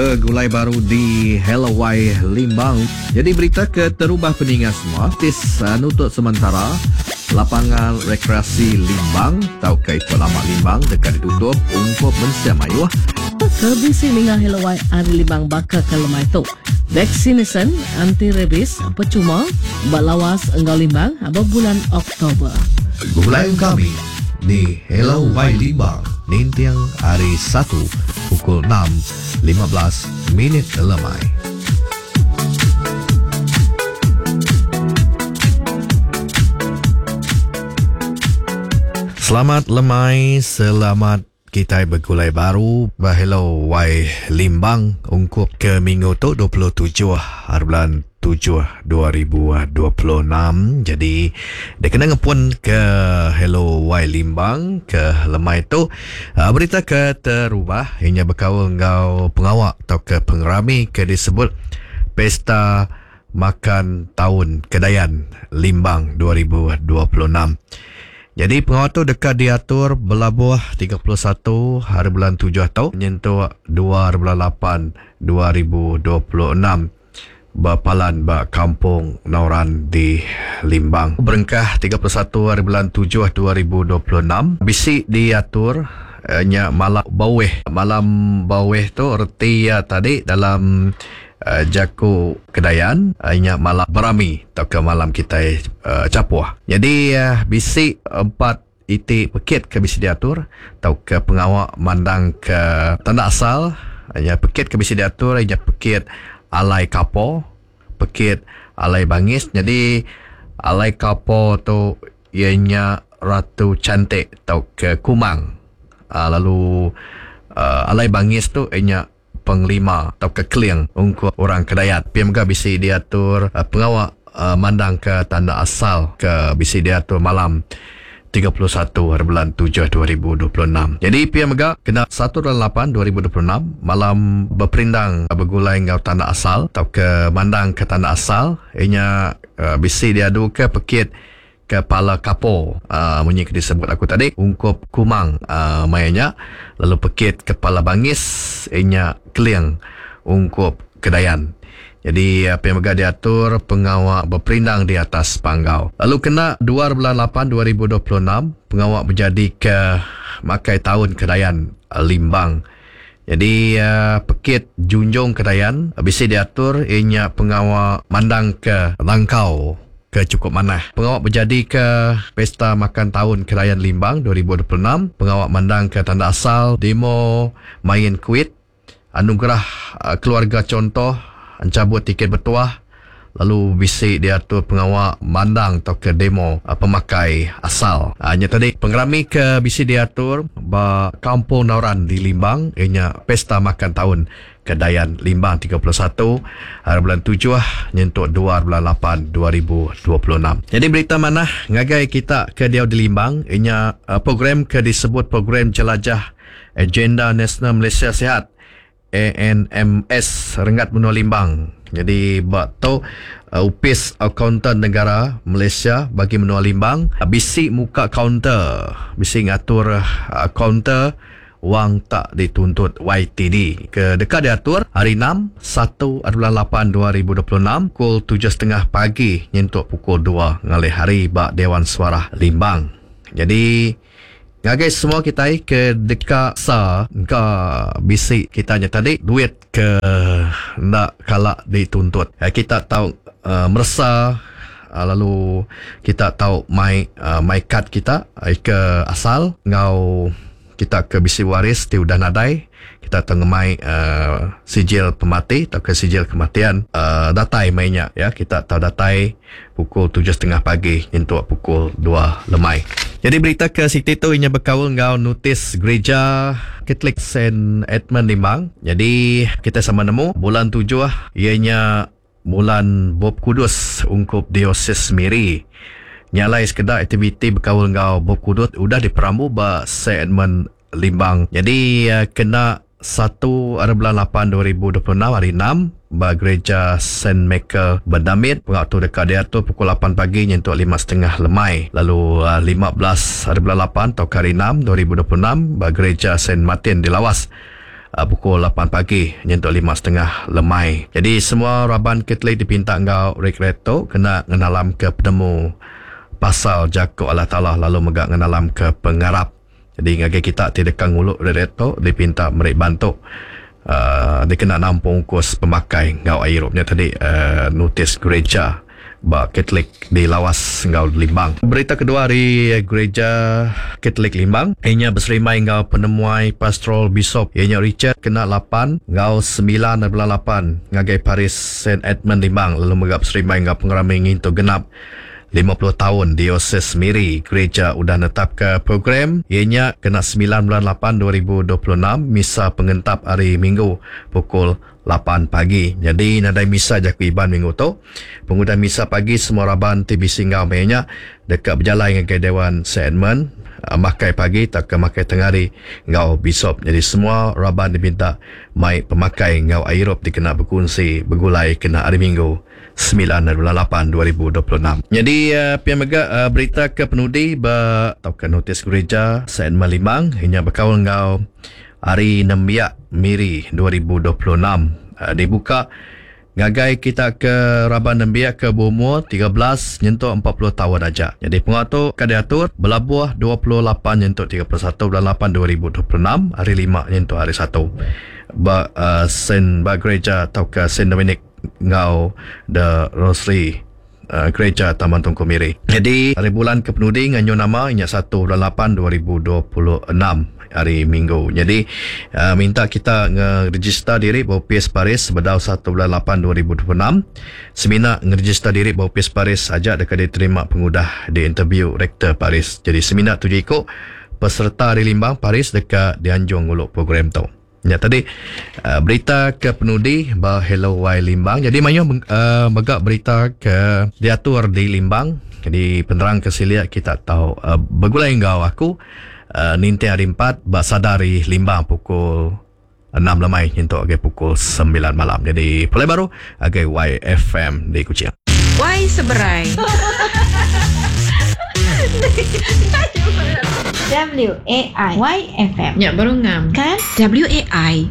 Begulai baru di Hello Wai Limbang. Jadi berita ke terubah peninga semua tis nutut sementara lapangan rekreasi Limbang tauka Ipuk Lama Limbang deka ditutup ungkup mensia mayuh. Ke bisi ninga Hello Wai ari Limbang baka ke lemai tu. Vaksinasyen anti rabies pechuma ba Lawas enggau Limbang ba bulan Oktober. Begulai enggau kami di Hello Wai Limbang ninting hari Satu pukul enam 15 minit lemai. Selamat lemai, selamat kitai begulai baru ba Hello Wai Limbang ungkup ke minggu tu 27 hari bulan 7 2026. Jadi dikena ngepun ke Hello Wai Limbang ke lemai tu berita ke terubah inya bekaul enggau pengawa tauka pengerami ke disebut Pesta Makan Taun Kedayan Limbang 2026. Nyadi pengawa tu deka diatur belabuh 31 hari bulan tujuh tu nyentuk dua hari bulan lapan 2026 ba palan ba Kampung Nauran di Limbang. Berengkah 31 hari bulan tujuh 2026 bisi diatur nya malam baweh. Malam baweh tu reti iya tadi dalam jaku Kedayan nya malam berami tauka malam kitai chapuh. Nyadi bisi empat iti pekit ke bisi diatur tauka pengawa mandangka tanda asal nya pekit ke bisi diatur nya pekit alai kapo, pekit alai bangis. Nyadi alai kapo tu iya nya ratu cantik tauka kumang lalu alai bangis tu iya nya penglima tauka keling ungkup orang Kedayan. Pia mega bisi diatur pengawa mandangka tanda asal ke bisi diatur malam 31 hari bulan tujuh 2026. Nyadi pia mega kena satu bulan lapan 2026 malam beperindang begulai enggau tanda asal tauka mandangka tanda asal iya nya bisi diaduka pekit Kepala Kapo munyi ke disebut aku tadi ungkup Kumang maya nya lalu pekit Kepala Bangis iya nya Keling ungkup Kedayan. Nyadi pia mega diatur pengawa beperindang di atas panggau. Lalu kena dua bulan lapan 2026 pengawa bejadika makai taun Kedayan Limbang. Nyadi pekit Junjung Kedayan bisi diatur iya nya pengawa mandangka langkau ke chukup manah. Pengawa bejadika Pesta Makan Taun Kedayan Limbang 2026, pengawa mandangka tanda asal, demo main kuit, anugerah keluarga chontoh, enchabut tiket betuah lalu bisi diatur pengawa mandang tauka demo pemakai asal. Nya tadi pengerami ke bisi diatur ba Kampung Nauran di Limbang iya nya Pesta Makan Taun Kedayan Limbang 31 hari bulan tujuh nyentuk dua hari bulan lapan 2026. Nyadi berita manah ngagai kita ke diau di Limbang iya nya program ke disebut Program Jelajah Agenda Nasional Malaysia Sihat, ANMS, renggat menua Limbang. Nyadi ba tu Opis Akauntan Negara Malaysia bagi menua Limbang bisi muka kaunter, bisi ngatur kaunter wang tak dituntut YTD ke deka diatur hari enam, satu ari bulan lapan 2026 pukul tujuh setengah pagi nyentuk pukul dua ngalih hari ba Dewan Suarah Limbang. Nyadi ngagai semua kitai ke deka sa engka bisi kita nya tadi duit ke enda kala dituntut kita tau meresa lalu kita tau mai mai kad kita ke asal enggau kita ke bisi waris ti udah nadai kita tau ngemai sijil pemati tauka sijil kematian datai mei nya ya kita tau datai pukul tujuh setengah pagi nyentuk pukul dua lemai. Nyadi berita ke siti tu inya bekaul enggau notis Gerija Katolik Saint Edmund Limbang. Nyadi kitai sama nemu bulan tujuh iya nya bulan Bup Kudus ungkup Diosis Miri. Nya alai sekeda aktiviti bekaul enggau Bup Kudus udah diperambu ba Saint Edmund Limbang. Nyadi kena satu ari bulan lapan 2026 hari enam ba Gereja Saint Michael Bedamit. Pengawa tu deka diatur pukul lapan pagi nyentuk lima setengah lemai. Lalu 15 ari bulan lapan tauka hari enam 2026 ba Gereja Saint Martin di Lawas. Pukul 8 pagi nyentuk lima setengah lemai. Jadi semua raban Katolik dipinta enggau retret tu kena ngenalamka penemu pasal jaku Allah Taala lalu mega ngenalamka pengarap. Jadi ngagai kita ti deka ngulu retret tu dipinta meri bantu uhh dikena nampung ungkus pemakai enggau ai irup nya tadi uhh notis gereja. Ba Katolik di Lawas enggau Limbang. Berita kedua ari Gereja Katolik Limbang iya nya beserimbai enggau penemuai Pastoral Bishop iya nya Richard kena 8 enggau 9 ari bulan 8 ngagai Paris Saint Edmund Limbang lalu mega beserimbai enggau pengerami ngintu genap 50 taun Dioses Miri. Gereja udah netapka program iya nya kena 9 bulan 8 2026 misa pengentap hari Minggu pukul 8 pagi. Nyadi nadai misa jaku Iban minggu tu. Pengudah misa pagi semua raban ti bisi enggau maya nya deka bejalai ngagai Dewan Saint Edmund makai pagi tauka makai tengah hari enggau Bishop. Nyadi semua raban diminta mai pemakai enggau ai irup dikena bekunsi begulai kena hari Minggu 9 ari bulan 8 2026. Nyadi pia mega berita ke penudi ba tauka notis gereja Saint Edmund Limbang inya bekaul enggau Hari Nembiak Miri 2026 dibuka ngagai kita ke raban nembiak ke beumur 13 nyentuk 40 taun aja. Nyadi pengawa tu ka diatur belabuh 28 nyentuk 31 bulan 8 2026 hari Lima nyentuk hari Satu ba Saint ba gereja tauka Saint Dominic enggau The Rosary Gereja Taman Tunku Miri. Nyadi hari bulan ke penudi nganjung nama inya 1 bulan 8 2026 hari Minggu. Nyadi minta kita ngerejista diri ba opis Paris sebedau 1 bulan 8 2026. Semina ngerejista diri ba opis Paris aja deka diterima pengudah diinterbiu Rektor Paris. Jadi semina tujuh iku pesereta ari Limbang Paris deka dianjung ngulu program tu. Nya tadi berita ke penudi ba Hello Y Limbang. Jadi mayuh mega berita ke diatur di Limbang. Jadi penerang ke silik kita tau begulai enggau aku ninting hari 4 ba Sadari Limbang pukul 6 lemai nyentuk agi pukul 9 malam. Jadi pulai baru agai YFM di Kuching. Y seberai. W A I Y F M. Nya baru ngam. Kan? W A I.